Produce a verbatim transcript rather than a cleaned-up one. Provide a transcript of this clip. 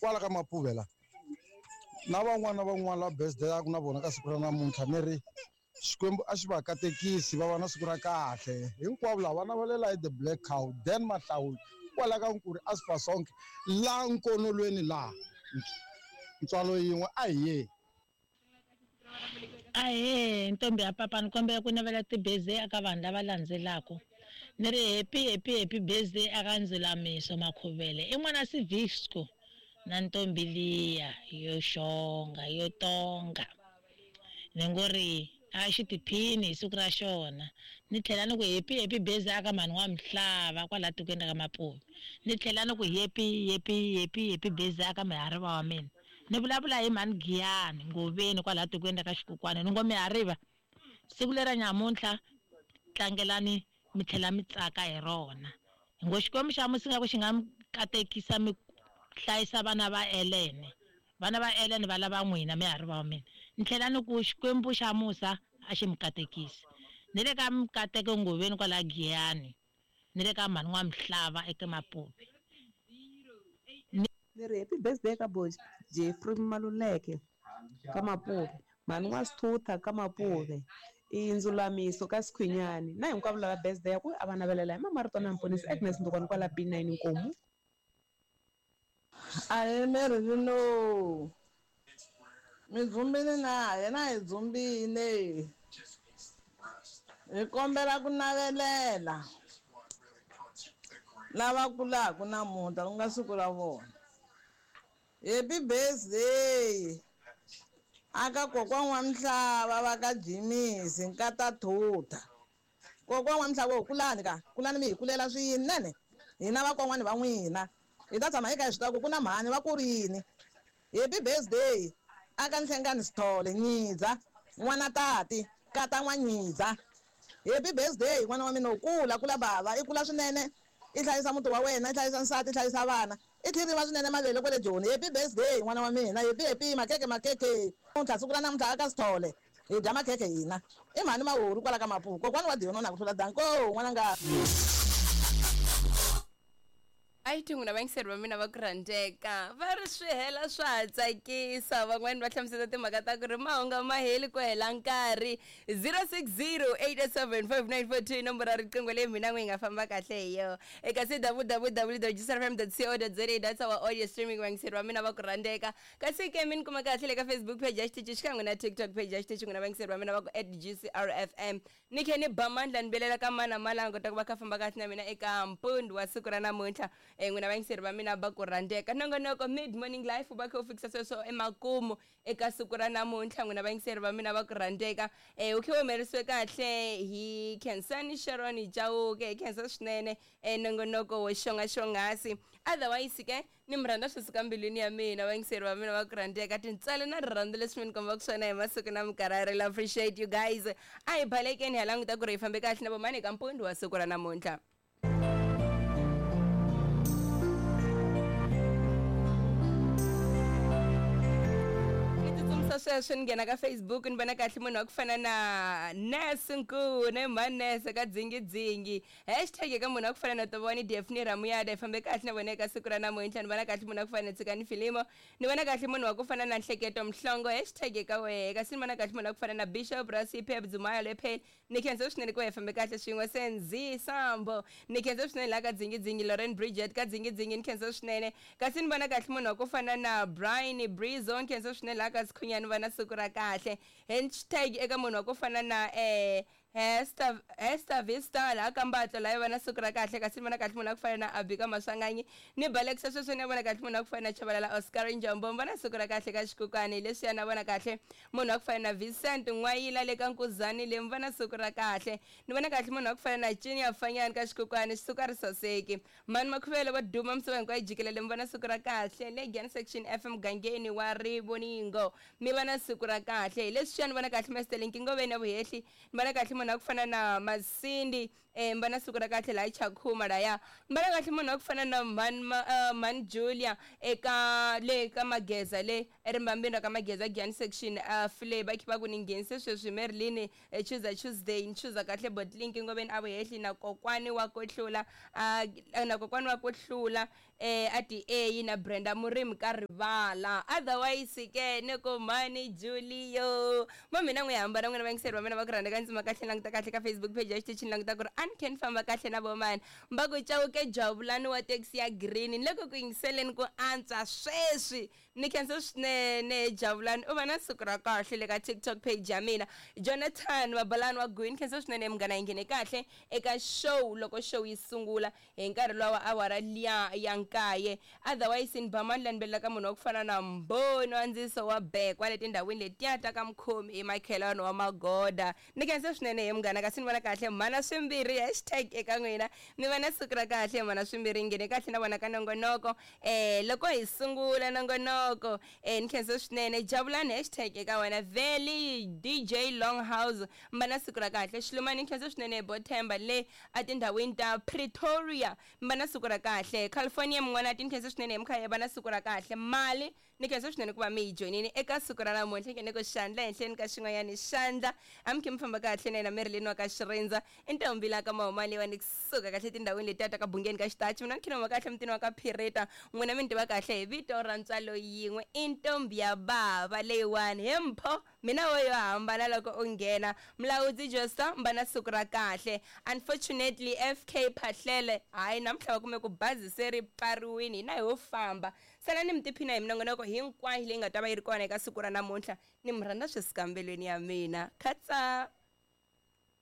Kwala ka Mapuve la. Na van'wana na van'wana lava birthday-aku na vona ka siku ra namuntlha ni ri Xikwembu a xi va katekisi va va na siku ra kahle. Hinkwavo lava va navelela hi The Black Cow, Dan Mahlawuli kwala ka Nkuri Aspa Sonke la nkonolweni laha. Ntswalo yin'we a hi yeni. Ahee, ntombi ya papa ni kombela ku navela ti-birthday eka vanhu lava landzelaka. Ni ri happy happy happy birthday eka Ndzulamiso Makhuvele i n'wana Civisco na ntombi liya yo xonga yo tonga. Ni ngo ri a xi tiphini hi siku ra xona. Ni tlhela ni ku happy happy birthday aka mhani wa Mhlava kwala tikweni ra ka Mapuve. Ni tlhela ni ku happy happy happy happy birthday aka mihariva wa mina. Ni vulavula hi mhani Giyani Ngoveni kwala tikweni ra ka Xikukwana. Ni ngo mihariva siku lera nyamuntlha tlangelani mi tlhela mi tsaka hi rona. Hi ngo Xikwembu xa musi nga ku xi nga mi katekisa mi hlayisa vana va Elene. Vana va Elene va lava n'wina mihariva wa mina. Ni tlhela ni ku Xikwembu xa musa a xi mi katekisi. Ni le ka Mikateko Ngoveni kwala Giyani. Ni le ka mhani wa Mhlava eka Mapuve. Ni ri happy birthday ka bo Jeffrey Maluleke ka Mapuve, mhani wa Sithutha ka Mapuve, i Ndzulamiso ka Sikhwinyani na hinkwavo lava birthday ya ku a va navelela hi Mamarito na Mponisi Agnes Ndukwana kwala B nine Nkomu. Ahee Mary Lino, mi dzumbile na yena hi dzumbile, hi kombela ku navelela lava kulaka namuntlha ku nga siku ra vona. Happy birthday aka kokwana wa Mhlava va ka Jimisi nkata Thutha. Kokwana wa Mhlava kulani ka kulani mi hi kulela swinene hina vakon'wana va n'wina hi ta tshama hi kha hi swi tiva ku ku na mhani va kurini. Happy birthday aka Nhlengani Sithole Nyidza n'wana tati kata n'wa Nyidza. Happy birthday n'wana wa mina u kula kula bava i kula swinene i hlayisa muti wa wena i hlayisa nsati i hlayisa vana i tlhiriwa swinene mavele kwale Joni. Happy birthday n'wana wa mina, happy happy makeke makeke. Namuntlha siku ra namuntlha aka Sithole hi dya makhekhe hina i mhani Mahuru kwala ka Mapuve. Kokwani wa Diyono na ku hlula danko n'wananga. A yi n'wina vayingiseri va mina va ku rhandzeka va ri swi hela swa ha tsakisa van'wani va hlamusela timhaka ta ku ri mahunga ma heli ku hela nkarhi zero six zero eight seven five nine four two nomboro ya riqingho leyi mina n'wi hi nga famba kahle hi yona eka c w w w dot g c r f m dot co dot za that's our audio streaming vayingiseri va mina va ku rhandzeka kasi ke mi ni kuma kahle le ka Facebook page ya xitichi xikan'we na TikTok page ya xitichi n'wina vayingiseri va mina va ku at G C R F M. Ni khe ni ba mandla ni belela ka mana malango ta ku va kha famba kahle na mina eka mpundzu wa siku ra namuntlha. um n'wina vayingiseri va mina va ku rhandzeka nongonoko Mid Morning Life va kha u fikisa sweswo emakumu eka siku ra namuntlha. N'wina vayingiseri va mina va ku rhandzeka um u khe u humelerisiwe kahle hi Khensani Sharon Chauke. Hi khensa swinene um nongonoko wo xonga xonghasi. Otherwise ke ni mi rhandza swi suka mbilwini ya mina vayingiseri va mina va ku rhandzeka tintswalo na rirhandzu leswi mi ni kombaka swona hi masiku na minkarhi. I really appreciate you guys. A hi balekeni hi languta ku ri hi fambe kahle na vomani eka mpundzu wa siku ra namuntlha. Ni tsutsumisa sweswo ni nghena ka Facebook ni vona kahle munhu wa ku fana na Nurse Nkune Manese ka dzingidzingi hashtag eka munhu wa ku fana na Tovoni Daphne Ramuyada. Hi fambe kahle na vona eka siku ra namuntlha. Ni vona kahle munhu wa ku fana na Tshikani Filimo. Ni vona kahle munhu wa ku fana na Nhleketo Mhlongo hashtag eka wehe. Kasi ni vona kahle munhu wa ku fana na Bishop Rasipe Bdzumaya Lepheli. Ni khensa swinene ku hi fambe kahle swin'we. Senzi Sambo ni khensa swinene laha ka dzingidzingi. Lauren Bridget ka dzingidzingi ni khensa swinene. Kasi ni vona kahle munhu wa ku fana na Brian Brizo ni khensa swinene laha ka Sikhunyani va na siku ra kahle hashtag eka munhu wa ku fana na eh Hester Hester Vista laha ka Mbatlo laha va na siku ra kahle. Kasi ni vona kahle munhu wa ku fana na Abika Maswanganyi ni balekisa sweswo. Ni vona kahle munhu wa ku fana na Chabalala Oscar Njombo va na siku ra kahle ka Xikukani leswiya. Na vona kahle munhu wa ku fana na Vincent N'wayila le ka Nkuzani le va na siku ra kahle. Ni vona kahle munhu wa ku fana na Junior Fanyani ka Xikukani xisuka ri saseki mani Makhuvele va duma misava hinkwayo jikelele mi va na siku ra kahle le Giyani Section F mugangeni wa Rivoningo mi va na siku ra kahle hi leswiya. Ni vona kahle Master Linki Ngoveni ya Vuhehli. Ni vona kahle munhu wa ku fana na Masindi. eh mbana siku ra kahle laha Chakhuma laya mbana kahle munhu wa ku fana na man uh, man Julia eka le ka Mageza le erimbambini ra ka Mageza Giyani section uh, fle va khiva ku ni nghenise sweswi Merlin eh, Tuesday Tuesday ni chuza kahle botlink ngoveni a vuhehli na kokwani wa ku hlula uh, na kokwani wa ku hlula eh a D A na Brenda Murimi ka rivala otherwise ke ni ku mani Julio ma mina n'wi hambana n'wina vayingiseri va mina va ku rhandza ka ndzima kahle languta kahle ka Facebook page ya xitichini languta ku ri a ni khe ni famba kahle na vomani mba ku Chauke Jabulani wa taxi ya green ni le ku ku yingiseleni ku antswa sweswi ni khensa swinene Jabulani u va na siku ra kahle le ka TikTok page ya mina Jonathan Mabalani wa Gwini khensa swinene munghana yi nghene kahle eka show loko show yi sungula hi nkarhi lowa wa awara liya ya nkaye otherwise ni ba mani la ni belelaka munhu wa ku fana na Mboni wa ndziso wa Bekwa le tindhawini letiya ta ka Mkhomi i makhelwani wa Magoda ni khensa swinene he munghana kasi ni vona kahle mhana swimbirhi hashtag eka n'wina mi va na siku ra kahle mhana swimbirhi nghene kahle na vona ka nongonoko eh loko hi sungula nongonoko eh ni khensa swinene Jabulani hashtag eka wena Valley D J Longhouse mba na siku ra kahle Xilumani ni khensa swinene Bothemba le a tindhawini ta Pretoria mba na siku ra kahle California mun'wana ti ni khensa swinene hi mkhaya va na siku ra kahle mali ni khensa swinene ku va mi yi joyinini eka siku ra namuntlha nghene ku xandla henhleni ka xin'wanyani xandla a mi khe mi famba kahle na yena Merlin wa ka Xirindza i ntombi la ka Mahomali wa ni kusuka kahle tindhawini letiya ta ka Bungeni ka Xitachi mina ni khe ni huma kahle mutini wa ka Phirita n'wina mi ni tiva kahle hi vito ra ntswalo yin'we i ntombi ya bava leyiwani he mpho mina wo yo hambana loko u nghena Mlawudzi Josta mba na siku ra kahle unfortunately F K Phahlele hayi namuntlha va kume ku bazi se ri pfariwini hina hi ho famba salani mi tiphina hi minongonoko hinkwayo leyi nga ta va yi ri kona eka siku ra namuntlha ni mi rhandza swisikambelweni ya mina khatsa.